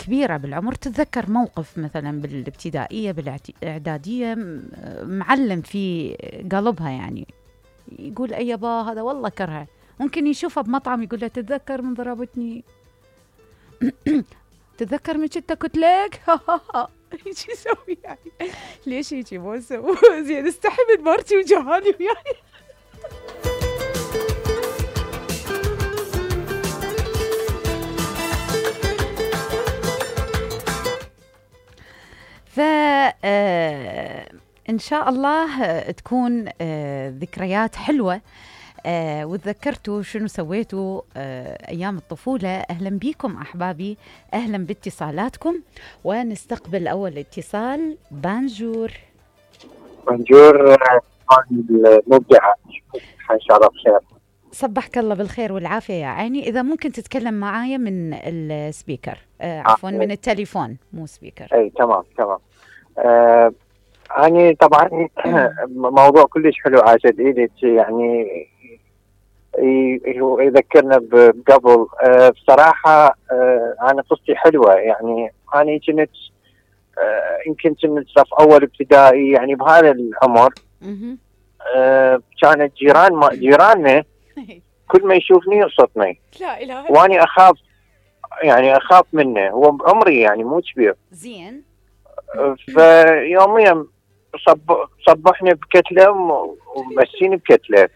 كبيرة بالعمر تتذكر موقف مثلا بالابتدائية بالإعدادية معلم في قلبها، يعني يقول أي با هذا والله كرهه. ممكن يشوفها بمطعم يقول له تتذكر من ضربتني، تتذكر من كنت كتلك. ايش يسوي يعني؟ ليش هيك مو اسوي زين؟ استحي من مرتي وجهاني وياي. ف ان شاء الله تكون ذكريات حلوة، وتذكرتوا شنو سويتوا أيام الطفولة. أهلا بكم أحبابي، أهلا باتصالاتكم، ونستقبل أول اتصال. بانجور. بانجور المبدعة، إن شاء الله بخير. صبحك الله بالخير والعافية يا عيني. إذا ممكن تتكلم معايا من السبيكر، عفوا من التليفون مو سبيكر. أي تمام. أنا طبعا موضوع كلش حلو عاشت إيدك، يعني يذكرنا بقبل. بصراحة أنا قصتي حلوة، يعني أنا كنت يمكن كنت صف أول ابتدائي، يعني بهذا العمر. كانت جيراننا كل ما يشوفني يقصدني، لا إله، وأنا أخاف منه، هو بعمري يعني مو كبير زين. فيوميا صبحني بكتلة ومسيني بكتلة،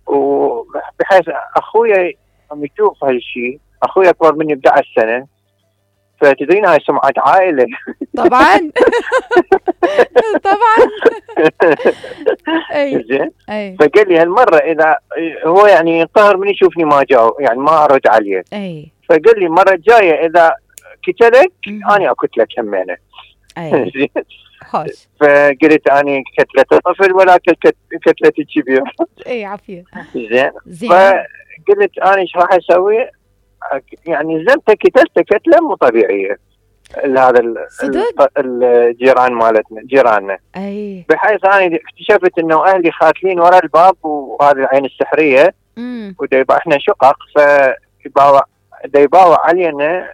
وبحيث أخويا عم يشوف هالشيء. أخويا أكبر مني ب11 سنة، فتدرين هاي سمعة عائلة. طبعا طبعا. زين. فقال لي هالمرة إذا هو يعني ينقهر من يشوفني ما جاوب، يعني ما أرد عليه. فقال لي المرة الجاية إذا كتلك أنا أكتلك همينة. زين. فقلت أنا كتلة طفل ولا كتلة كبير. اي عافية. زين. فقلت أنا إيش راح أسوي؟ يعني زلت كتلته كتلة مو طبيعية هذا الجيران مالتنا جيراننا. بحيث أنا اكتشفت إنه أهلي خاتلين ورا الباب، وهذه العين السحرية، وديبا إحنا شقق، فديباوع علينا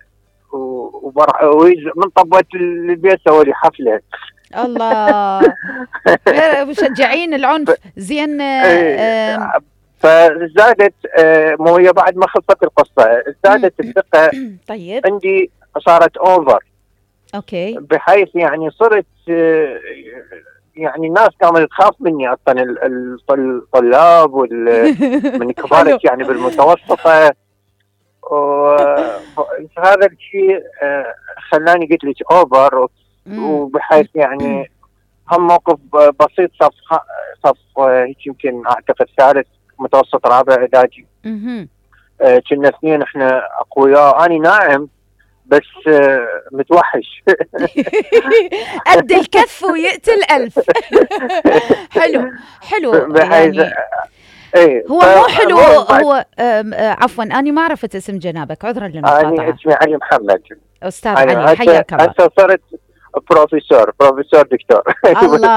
من طبوة البيت سووا لي حفلة. الله. مشجعين العنف. زين. فزادت مو هي بعد ما خلصت القصة زادت الثقة. طيب. عندي صارت اوفر. اوكي. بحيث يعني صرت يعني الناس كانت تخاف مني اصلا، الطلاب من كبارك يعني بالمتوسطة. وهذا الشيء خلاني قلت لك اوفر. وبحيث يعني هم موقف بسيط، صف هيك يمكن اعتقد ثالث متوسط رابع اعدادي. كنا اثنين احنا اقوياء، اني ناعم بس متوحش. قد الكف ويقتل الألف. حلو يعني. هو مو حلو. هو عفوا أنا ما عرفت اسم جنابك، عذرا للمقاطعة. أنا اسمي علي محمد. أستاذ علي، حياك الله. هسه صرت بروفيسور دكتور. الله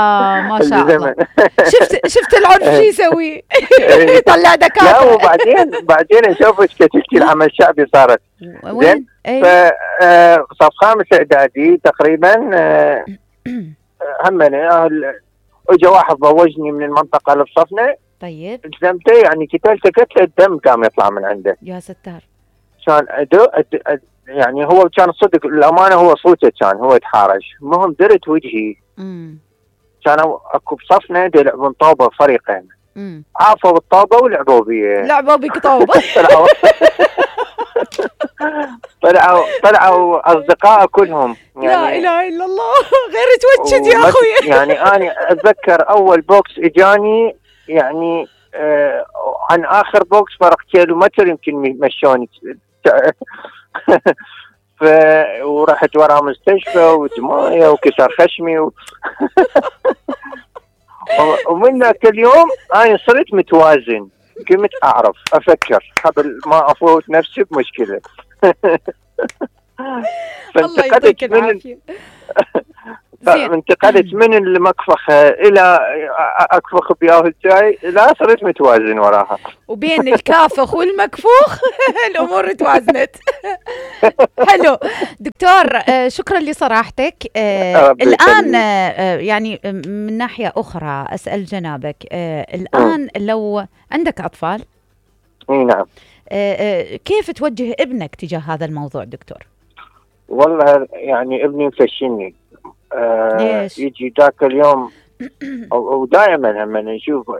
ما شاء الله. شفت العنف شو يسوي؟ طلع دكاترة. لا وبعدين نشوفك كتلتي العمل الشعبي صارت. وين؟ صف خامس اعدادي تقريبا. همنا اجى واحد ضوجني من المنطقة اللي بصفنا. طيب. التزمته، يعني كتلته كتلة الدم كان يطلع من عنده. يا ستار. كان يعني هو كان صدق الأمانة، هو صوته كان هو يتحارج. المهم درت وجهي. كانوا اكو بصفنا يلعبون طوبة فريقين. عافوا بالطوبة ولعبوا بي. لعبوا بك طوبة. طلعوا أصدقاء كلهم. يعني لا إله إلا الله. غير توجد يا أخوي. يعني أنا أتذكر أول بوكس إجاني، يعني عن آخر بوكس فرق كيلومتر يمكن مشوني. ورحت ورا مستشفى ودموية وكسر خشمي ومن ذاك اليوم أنا صرت متوازن، قمت أعرف أفكر قبل ما أفوت نفسي بمشكلة. الله يعطيك العافية. انتقلت من المكفخة إلى أكفخ بياه الجاي، لا صرت متوازن وراها. وبين الكافخ والمكفوخ الأمور توازنت. حلو دكتور، شكرا لصراحتك. الآن يعني من ناحية أخرى أسأل جنابك، الآن لو عندك أطفال، نعم، كيف توجه ابنك تجاه هذا الموضوع دكتور؟ والله يعني ابني مفشني. يجي ذاك اليوم ودائما لما نشوف،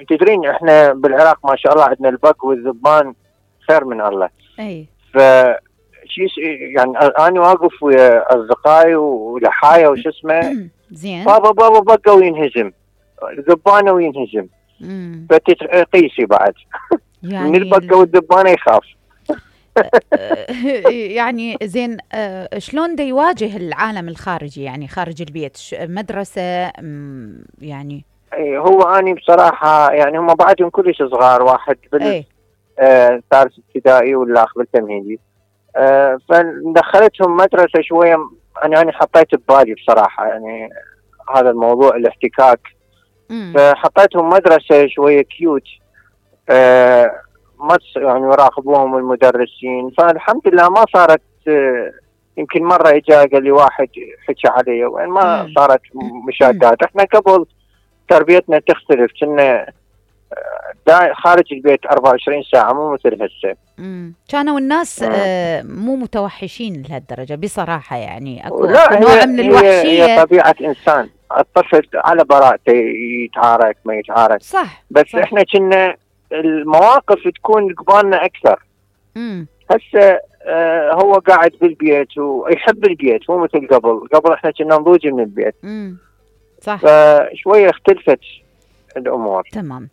تدرين احنا بالعراق ما شاء الله عندنا البق والذبان خير من الله. اي يعني انا واقف ويا اصدقائي ولحايا وش اسمه زين، بابا بقى وينهزم، ذبانه وينهزم، فتقيسي بعد يعني من البقه والذبانه يخاف. يعني زين، شلون دا يواجه العالم الخارجي يعني خارج البيت؟ مدرسة يعني؟ هو أنا بصراحة يعني هم بعدهم كلش صغار، واحد ثالث ابتدائي والآخر بالتمهيدي، فدخلتهم مدرسة شوية. أنا حطيت ببالي بصراحة يعني هذا الموضوع الاحتكاك، فحطيتهم مدرسة شوية كيوت، ما يعني يراقبوهم المدرسين. فالحمد لله ما صارت، يمكن مرة اجا قال لي واحد حكى علي، وين ما صارت مشادات. احنا قبل تربيتنا تختلف، كنا خارج البيت 24 ساعة مو مثل هسه. كانوا الناس مو متوحشين لهالدرجة بصراحة، يعني اكو نوع من الوحشية. هي طبيعة انسان، الطفل على براءته يتعارك ما يتعارك، صح، بس صح. احنا كنا المواقف تكون قبالنا اكثر. هسه هو قاعد بالبيت ويحب البيت، مو مثل قبل احنا كنا نضوج من البيت. صح، فشويه اختلفت الامور. تمام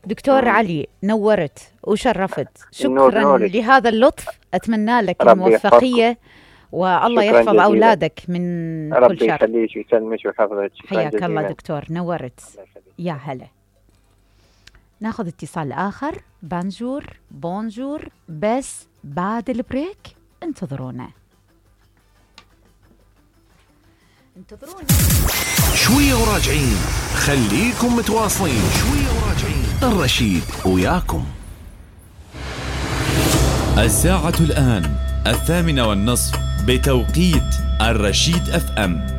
دكتور علي، نورت وشرفت، شكرا لهذا اللطف، اتمنى لك الموفقيه والله يحفظ جزيلا. اولادك من كل شر. ربي يخليك ويسلمك ويحفظك. حياك الله دكتور، نورت. يا هلا. ناخذ اتصال آخر. بونجور بس بعد البريك انتظرونا. شوية وراجعين، خليكم متواصلين. شوية وراجعين، الرشيد وياكم. الساعة الآن 8:30 بتوقيت الرشيد FM.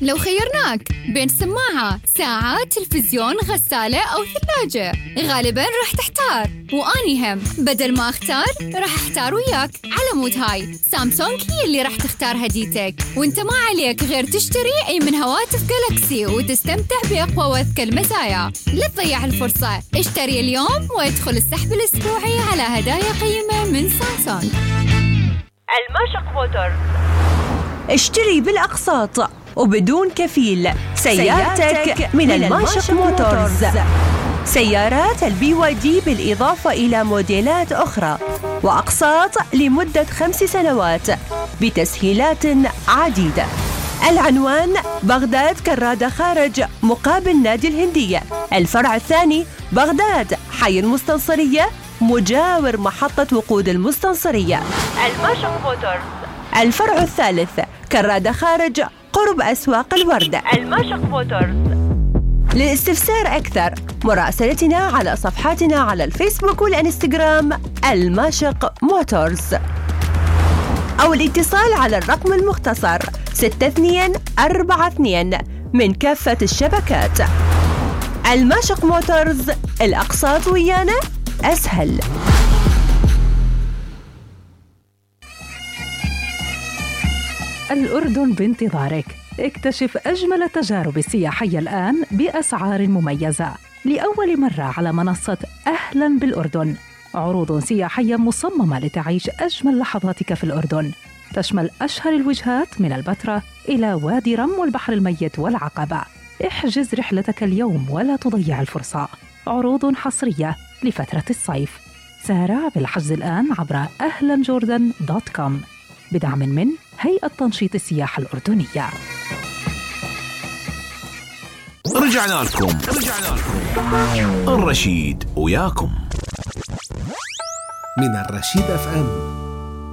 لو خيرناك بين سماعة، ساعة، تلفزيون، غسالة أو ثلاجة، غالباً راح تحتار، وأني هم بدل ما أختار راح أحتار وياك. على مود هاي سامسونج هي اللي راح تختار هديتك، وانت ما عليك غير تشتري أي من هواتف جالاكسي وتستمتع بأقوى وأذكى المزايا. لا تضيع الفرصة، اشتري اليوم وادخل السحب الأسبوعي على هدايا قيمة من سامسونج. الماشق موتورز، اشتري بالأقساط وبدون كفيل سيارتك من الماشق موتورز. سيارات الBYD بالإضافة إلى موديلات أخرى، وأقساط لمدة 5 سنوات بتسهيلات عديدة. العنوان بغداد كرادة خارج مقابل نادي الهندية. الفرع الثاني بغداد حي المستنصرية مجاور محطة وقود المستنصرية. الماشق موتورز. الفرع الثالث كرادة خارج قرب أسواق الوردة. الماشق موتورز. للاستفسار أكثر مراسلتنا على صفحاتنا على الفيسبوك والإنستغرام الماشق موتورز، أو الاتصال على الرقم المختصر 6242 من كافة الشبكات. الماشق موتورز، الأقساط ويانا أسهل. الأردن بانتظارك. اكتشف أجمل التجارب السياحية الآن بأسعار مميزة. لأول مرة على منصة أهلاً بالأردن، عروض سياحية مصممة لتعيش أجمل لحظاتك في الأردن، تشمل أشهر الوجهات من البتراء إلى وادي رم والبحر الميت والعقبة. احجز رحلتك اليوم ولا تضيع الفرصة. عروض حصرية لفترة الصيف. سارع بالحجز الآن عبر ahlanjordan.com بدعم من هيئة تنشيط السياحة الأردنية. رجعنا لكم الرشيد وياكم من الرشيد FM.